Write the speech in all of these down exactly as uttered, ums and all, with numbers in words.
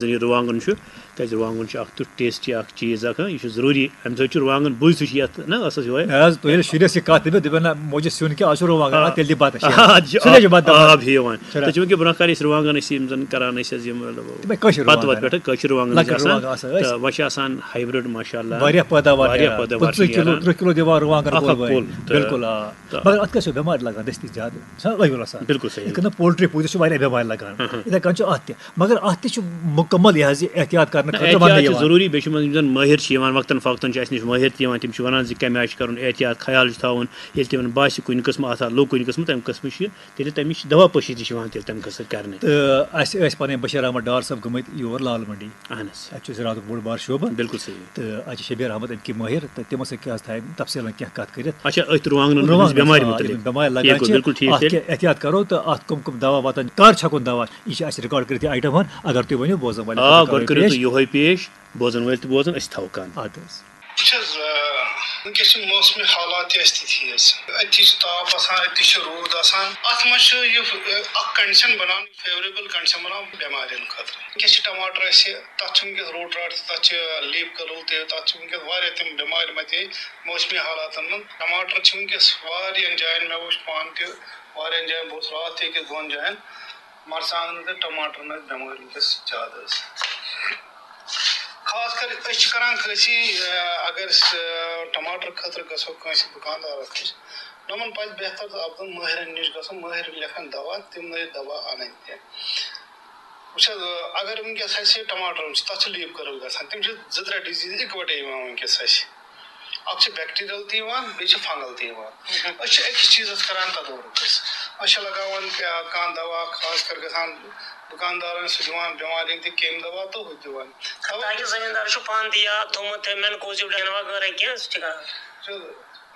زَن یہِ رُوانٛگَن چھُ، کیٛازِ رُوانٛگَن چھُ اَکھ تیُتھ ٹیسٹی اَکھ چیٖز اَکھ، ہا، یہِ چھُ ضروٗری، اَمہِ سۭتۍ چھُ رُوانٛگَن بُے سُہ چھُ یَتھ، نہ، اَصٕل چھُ وۄنۍ۔ نہ حظ، تُہۍ ییٚلہِ شُرِس یہِ کَتھ دٔپِو، دَپہِ نہ، موجی سیُن کیٛاہ، آز چھُ رُوانٛگَن، آ۔ آ، تیٚلہِ دِ بَتَس، یہِ آ، حظ۔ سُہ کیٛاہ چھُ بَتہٕ آ، دَپان؟ آب ہیٚوان۔ چھُنہ۔ تَتہِ چھُ وۄنۍ کہِ برونٛہہ کالہِ أسۍ رُوانٛگَن ٲسۍ یِم زَن کَران ٲسۍ حظ یِم، مطلب، تِمَے کٲشِر پَتہٕ وَتہٕ رُوانٛگَن۔ پٮ۪ٹھٕ کٲشِر رُوانٛگَن ٲسۍ لۄکٕٹۍ آسان۔ رُوانٛگَن آسان ٲسۍ۔ تہٕ وۄنۍ چھِ آسان ہایبرِڈ، ماشاء اللہ، واریاہ واریاہ واریاہ پٲداوار چھِ پٕنٛژٕہ کِلوٗ، نیران۔ تٕرٛہ کِلوٗ دِوان رُوانٛگَن اَکھ کُل اَکھ وٲلۍ۔ کُل، تہٕ بِلکُل، آ۔ تہٕ مگر اَتھ کیٛاہ چھُ بٮ۪مارِ لَگان دٔستی زیادٕ؟ چھُنہ ٲویُل آسان۔ بِلکُل صحیح۔ یِتھ کٔنۍ پولٹری پوٗتِس چھُ واریاہ بٮ۪مارِ لَگان۔ ہاں، ہاں۔ یِتھَے کٔنۍ چھُ اَتھ تہِ۔ مگر اَتھ تہِ چھُ مُکمل یہِ حظ یہِ احتیاط کرنہٕ نہ، خٲطرٕ احتیاط وَننہٕ چھُ یِوان۔ ضروٗری۔ بیٚیہِ چھُ یِمَن، یِم زَن مٲہِر چھِ یِوان وقتاً فوقتاً، چھِ اَسہِ نِش مٲہِر تہِ یِوان، تِم چھِ وَنان زِ کَمہِ آیہِ چھُ کَرُن احتیاط، خیال چھُ تھاوُن، ییٚلہِ تِمَن باسہِ کُنہِ قٕسمہٕ آسان لوٚگ کُنہِ قٕسمہٕ، تَمہِ قٕسمہٕ چھُ یہِ، تیٚلہِ تَمِچ دوا پٲشی تہِ چھِ یِوان تیٚلہِ تَمہِ قٕسمہٕ کرنہٕ۔ تہٕ اَسہِ ٲسۍ پَنٕنۍ بشیر احمد ڈار صٲب گٔمٕتۍ یور لال منڈی۔ اہن حظ۔ اَتہِ چھُ زِراعتُک بوٚڑ بار شعبہٕ۔ بِلکُل صحیح۔ تہٕ اَتہِ چھِ شبیر احمد اَمِکۍ مٲہِر، تہٕ تِمو سۭتۍ کیٛاہ حظ تھایہِ تَفصیٖلَن کینٛہہ کَتھ کٔرِتھ۔ اچھا، أتھۍ رُوانٛگنَن ہٕنٛز رُوانٛگنَن، بٮ۪مارِ آ، مُتعلِق۔ یِمَن بٮ۪مارِ لَگان یہِ گوٚو چھِ، بِلکُل ٹھیٖک اَتھ تیٚلہِ۔ کیٛاہ احتیاط کَرو تہٕ اَتھ کَم کَم دَوا واتَن، کَر چھَکُن دَوا، یہِ چھِ اَسہِ رِکارڈ کٔرِتھ یہِ آیٹَم ہَن، اگر تُہۍ ؤنِو بوزَن وٲلۍ آ، خٲطرٕ گۄڈٕ کَرو کٔرِو یہِ تُہۍ یِہوٚے پیش، بوزَن وٲلۍ تہِ بوزَن، أسۍ تہِ تھاوو کَن۔ اَدٕ حظ۔ وٕچھ حظ، آ، وٕنکیٚس چھِ موسمِ حالات تہِ اَسہِ تِتھی حظ۔ أتی چھِ تاپھ آسان، أتی چھِ روٗد آسان۔ اَتھ منٛز چھُ یہِ، آ، اَکھ condition بَنان، favourable condition بَنان بٮ۪مارٮ۪ن خٲطرٕ۔ وٕنکیٚس چھِ ٹماٹر اَسہِ، تَتھ چھُ وٕنکیٚس root rot تہِ، تَتھ چھِ leaf curl تہِ، تَتھ چھِ وٕنکیٚس واریاہ تِم بٮ۪مارِ مَتے موسمی حالاتَن منٛز۔ ٹماٹر چھِ وٕنکیٚس واریاہَن جایَن، مےٚ وٕچھ پانہٕ تہِ واریاہَن جایَن، بہٕ اوسُس راتھ تہِ أکِس دۄن جایَن، مرژٕوانٛگنَن تہٕ ٹماٹرَن ٲس بٮ۪مٲرۍ وٕنکیٚس زیادٕ حظ۔ خاص کر أسۍ چھِ کران کٲنٛسہِ، آ، اگر أسۍ، آ، ٹماٹر خٲطرٕ گژھو کٲنٛسہِ دُکاندارَس نِش، یِمَن پَزِ بہتر تہٕ افضل مٲہرَن نِش گژھُن، مٲہِر لیکھَن دوا، تِمنٕے دوا اَنٕنۍ تہِ۔ وٕچھ حظ، اگر وٕنکیٚس اَسہِ ٹماٹرَن چھِ، تَتھ چھِ leaf curl گژھان، تِم چھِ زٕ ترٛےٚ disease اِکوَٹَے یِوان وٕنکیٚس اَسہِ۔ اَکھ چھِ bacterial تہِ یِوان، بیٚیہِ چھِ fungal تہِ یِوان۔ أسۍ چھِ أکِس چیٖزَس کَران تدارُک أسۍ۔ أسۍ چھِ لَگاوان کیٛاہ، کانٛہہ دوا، خاص کر گژھان دُکاندارَن سۭتۍ دِوان بٮ۪مارٮ۪ن تہِ کیٚمۍ دوا تہٕ ہُہ تہِ دِوان۔ تاکہِ زٔمیٖندار چھُ پانہٕ تہِ یا تھوٚمُت تہِ مٮ۪نکوزیب ڈَنہِ وغٲرٕ کینٛہہ، سُہ تہِ کَران۔ چھُ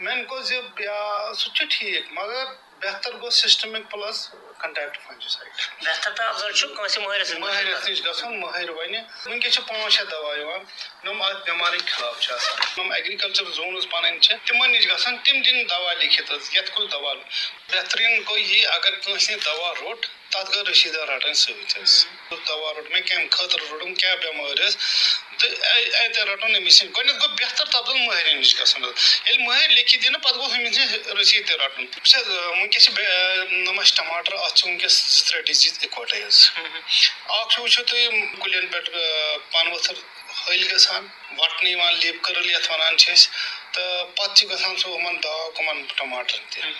مٮ۪نکوزیب یا سُہ تہِ چھُ ٹھیٖک، مگر بہتر گوٚو systemic plus contact fungicide۔ بہتر تہٕ افضل چھُ کٲنٛسہِ مٲہرَس نِش مٲہرَس نِش گژھُن، مٲہِر وَنہِ۔ وٕنکیٚس چھِ پانٛژھ شےٚ دوا یِوان، یِم اَتھ بٮ۪مارٮ۪ن خلاف چھِ آسان۔ یِم agriculture zones پَنٕنۍ چھِ، تِمَن نِش گژھن تِم دِنۍ دوا لیکھِتھ حظ، یَتھ کُس دوا۔ بہتریٖن گوٚو یہِ، اگر کٲنٛسہِ دوا روٚٹ، تَتھ گٔے رٔسیٖد رَٹٕنۍ سۭتۍ حظ۔ ہُم۔ دوا روٚٹ مےٚ، کَمہِ خٲطرٕ روٚٹُم، کیٛاہ بٮ۪مٲرۍ ٲس، تہٕ اَ-، اَتہِ رَٹُن أمِس نِش۔ گۄڈٕنٮ۪تھ گوٚو بہتر تَتھ گوٚو مٲہرِن نِش گژھُن حظ۔ ییٚلہِ مٲہِر لیکھِتھ دِنہٕ، پَتہٕ گوٚو أمِس نِش رٔسیٖد تہِ رَٹُن۔ وٕچھ حظ، آ، وٕنکیٚس چھِ بے-، آ، نَمَس ٹماٹر، اَتھ چھِ وٕنکیٚس زٕ ترٛےٚ disease اِکوَٹَے حظ۔ ہُم۔ اَکھ چھُ وٕچھِو تُہۍ یِم کُلٮ۪ن پٮ۪ٹھ، آ، پَنہٕ ؤتھٕر ۂلۍ گژھان، وَٹنہٕ یِوان، leaf curl یَتھ وَنان چھِ أسۍ، تہٕ پَتہٕ چھِ گژھان سُہ یِمَن داغ یِمَن ٹماٹرَن تہِ۔ ہُم۔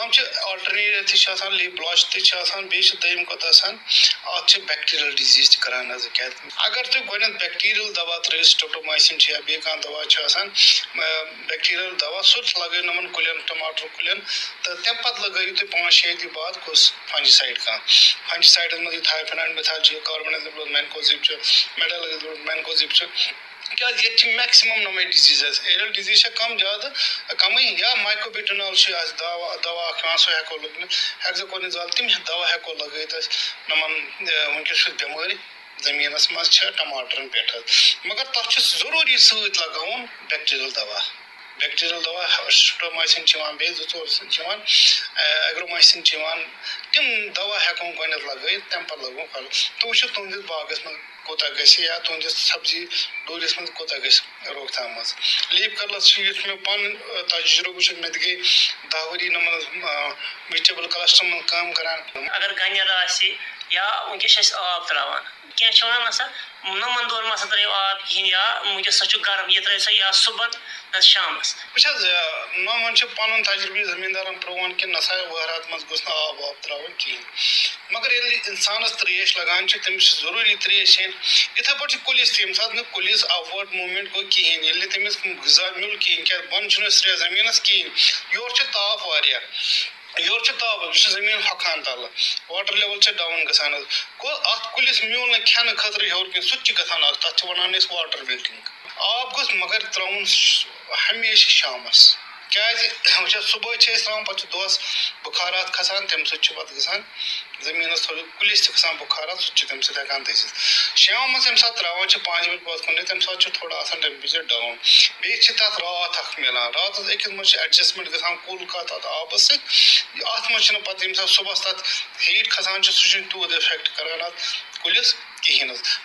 یِم چھِ alternate تہِ چھِ آسان، leaf blotch تہِ چھِ آسان، بیٚیہِ چھِ دوٚیِم کَتھ آسان، اَتھ چھِ bacterial disease تہِ کَران حظ۔ کیٛازِ اگر تُہۍ گۄڈٕنٮ۪تھ bacterial دوا ترٛٲیِو، streptomycin چھِ یا بیٚیہِ کانٛہہ دوا چھُ آسان، آ، bacterial دوا، سُہ لَگٲیِو یِمَن کُلٮ۪ن، ٹماٹر کُلٮ۪ن، تہٕ تَمہِ پَتہٕ لَگٲیِو تُہۍ پانٛژھ شےٚ دۄہہِ بعد کُس fungicide کانٛہہ۔ Fungicideَن منٛز یہِ thyphenol، methyl چھُ، carbendazole، mancozeb چھُ، metalazole، mancozeb چھُ۔ کیٛازِ ییٚتہِ چھِ maximum یِمَے diseases۔ Aerial disease چھےٚ کَم زیادٕ، کَمٕے، یا myclobutanol چھُ اَسہِ دوا، دوا اَکھ یِوان، سُہ ہٮ۪کو لٲگِتھ، hexaconazole، تِم دوا ہٮ۪کو لَگٲیِتھ أسۍ یِمَن، اَ، وٕنکیٚس چھُ بٮ۪مٲرۍ زٔمیٖنَس منٛز چھِ ٹماٹرَن پٮ۪ٹھ حظ۔ مگر تَتھ چھُ ضروٗری سۭتۍ لَگاوُن bacterial دوا۔ Bacterial دوا، streptomycin چھِ یِوان، بیٚیہِ زٕ ژور چھِ یِوان، اَ، agromycin چھِ یِوان۔ تِم دوا ہٮ۪کون گۄڈٕنٮ۪تھ لَگٲیِتھ، تَمہِ پَتہٕ لَگاوُن پھل۔ تُہۍ وٕچھِو تُہٕنٛدِس باغَس منٛز کوٗتاہ گژھِ یا تُہٕنٛدِس سبزی ڈوٗرِس منٛز کوٗتاہ گژھِ روک تھام منٛز۔ Leaf curlَس چھُ، یُس مےٚ پَنُن، آ، تجرُبہٕ چھُ، مےٚ تہِ گٔے دَہ ؤری یِمَن منٛز، آ، vegetable clusterَن منٛز کٲم کَران۔ اگر گَنٮ۪ر آسہِ یا وٕنکیٚس چھِ أسۍ آب ترٛاوان، کینٛہہ چھِ وَنان، نہ سا، نُمَن دۄہَن ما سا ترٛٲیِو آب کِہیٖنۍ، یا وٕنکیٚس سا چھُ گرم، یہِ ترٛٲیِو سا یا صُبحَن نَتہٕ شامَس۔ وٕچھ حظ، آ، نومَن چھُ پَنُن تجرُبہٕ یہِ زٔمیٖندارَن پرٛون کہِ نہ سا وَہرات منٛز گوٚژھ نہٕ آب واب ترٛاوُن کِہیٖنۍ۔ مگر ییٚلہِ اِنسانَس ترٛیش لَگان چھِ، تٔمِس چھِ ضروٗری ترٛیش چیٚنۍ۔ یِتھَے پٲٹھۍ چھِ کُلِس تہِ، ییٚمہِ ساتہٕ نہٕ کُلِس upward movement گوٚو کِہیٖنۍ، ییٚلہِ نہٕ تٔمِس غذا میوٗل کِہیٖنۍ، کیٛازِ بۄنہٕ چھُنہٕ سرٛیٚہہ زٔمیٖنَس کِہیٖنۍ، یورٕ چھُ تاپھ واریاہ، یورٕ چھُ تاپھ، یہِ چھُ زٔمیٖن ہۄکھان تَلہٕ، water level چھِ down گژھان حظ۔ گوٚو اَتھ کُلِس میوٗل نہٕ کھٮ۪نہٕ خٲطرٕ ہیوٚر کِہیٖنۍ، سُہ تہِ چھِ گژھان اَتھ، تَتھ چھِ وَنان أسۍ water wilting۔ آب گوٚژھ مگر ترٛاوُن س-، ہمیشہِ شامَس۔ کیٛازِ وٕچھ حظ، صُبحٲے چھِ أسۍ ترٛاوان، پَتہٕ چھُ دۄہَس بُخارات کھَسان، تَمہِ سۭتۍ چھُ پَتہٕ گژھان زٔمیٖنَس تھوڑا، کُلِس تہِ کھَسان بُخارات، سُہ تہِ چھُ تَمہِ سۭتۍ ہٮ۪کان دٔزِتھ۔ شامَس ییٚمہِ ساتہٕ ترٛاوان چھِ پانٛژِ بَجہِ پَتھ کُن، تَمہِ ساتہٕ چھُ تھوڑا آسان temperature down۔ بیٚیہِ چھِ تَتھ راتھ اَکھ مِلان، راتَس أکِس منٛز چھِ adjustment گژھان کُل کَتھ اَتھ آبَس سۭتۍ۔ اَتھ منٛز چھِنہٕ پَتہٕ ییٚمہِ ساتہٕ صُبحَس تَتھ heat کھَسان چھُ، سُہ چھُنہٕ تیوٗت effect کَران اَتھ کُلِس کِہیٖنۍ نہٕ حظ۔